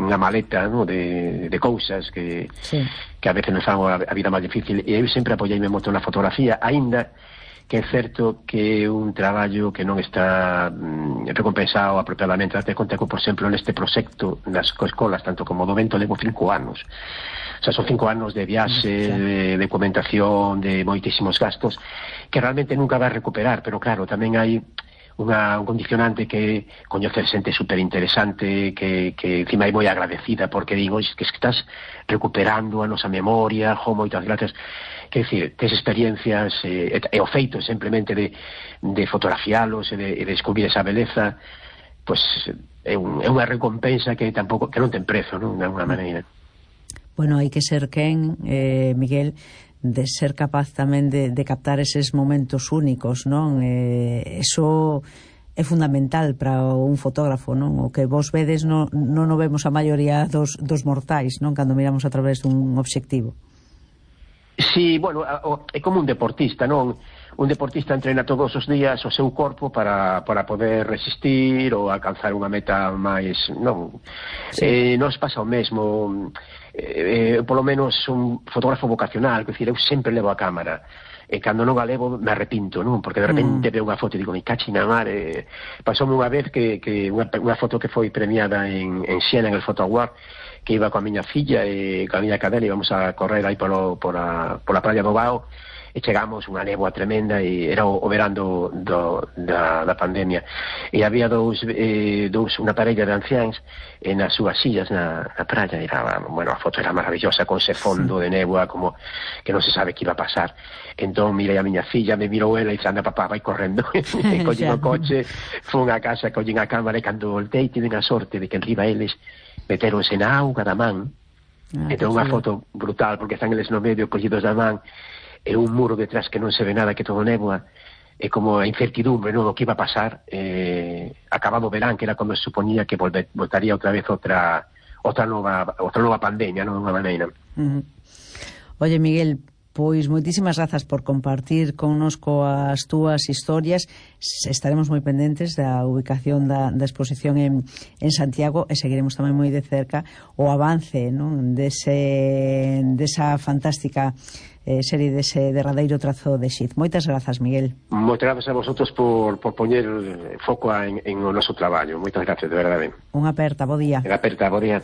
unha maleta, no, de cousas que a veces nos fan a vida máis difícil, e eu sempre apoiei-me moito na fotografía, aínda que é certo que é un traballo que non está recompensado apropiadamente. Date conta que, por exemplo, neste proxecto nas escolas, tanto como do Vento, levo 5 anos. O sea, son 5 anos de viaxe, de documentación, de moitísimos gastos, que realmente nunca vai recuperar, pero claro, tamén hai un condicionante que coñecer xente super interesante, que encima é moi agradecida, porque digo, que estás recuperando a nosa memoria, moitas gracias. Quer dicir, tes experiencias e o feito simplemente de fotografialos e de descubrir esa beleza, pois é unha recompensa que non ten prezo, non, de alguna maneira. Bueno, hai que ser quen, Miguel, de ser capaz tamén de captar eses momentos únicos, non? Eso é fundamental para un fotógrafo, non? O que vos vedes non o vemos a maioría dos mortais, non? Cando miramos a través dun obxectivo. Sí, bueno, é como un deportista, non? Un deportista entrena todos os días o seu corpo para poder resistir ou alcanzar unha meta máis, non? Nos pasa o mesmo, polo menos un fotógrafo vocacional, quer dizer, eu sempre levo a cámara, e cando non a levo me arrepinto, non? Porque de repente veo unha foto e digo, me cachi na mar. Pasoume unha vez que unha foto que foi premiada en Siena, en el Photo Award, que iba coa miña filla e coa miña cadela, íbamos a correr aí pola praia do Bao, e chegamos unha néboa tremenda, e era o verán da pandemia, e había unha parella de anciáns nas súas sillas na praia. Bueno, a foto era maravillosa, con ese fondo de néboa, como que non se sabe que iba a pasar. Entón mirei a miña filla, me mirou ela e dixo, anda papá, vai correndo. E collín o coche, fun a casa, collín a cámara, e cando voltei tiven a sorte de que enriba eles meteronse na auga da man. Entón unha foto brutal, porque están eles no medio collidos da man, e un muro detrás que non se ve nada, que todo néboa, e como a incertidumbre, non, do que iba a pasar. Acabado o verán, que era como se suponía que voltaría outra vez outra nova pandemia, non, de unha maneira. Oye, Miguel, pois moitísimas grazas por compartir connosco as túas historias. Estaremos moi pendentes da ubicación da exposición en Santiago, e seguiremos tamén moi de cerca o avance, non, desa fantástica serie, dese derradeiro trazo de Xiz. Moitas grazas, Miguel. Moitas grazas a vosotros por poñer foco en o noso traballo. Moitas grazas, de verdade. Unha aperta, bo día. Unha aperta, bo día.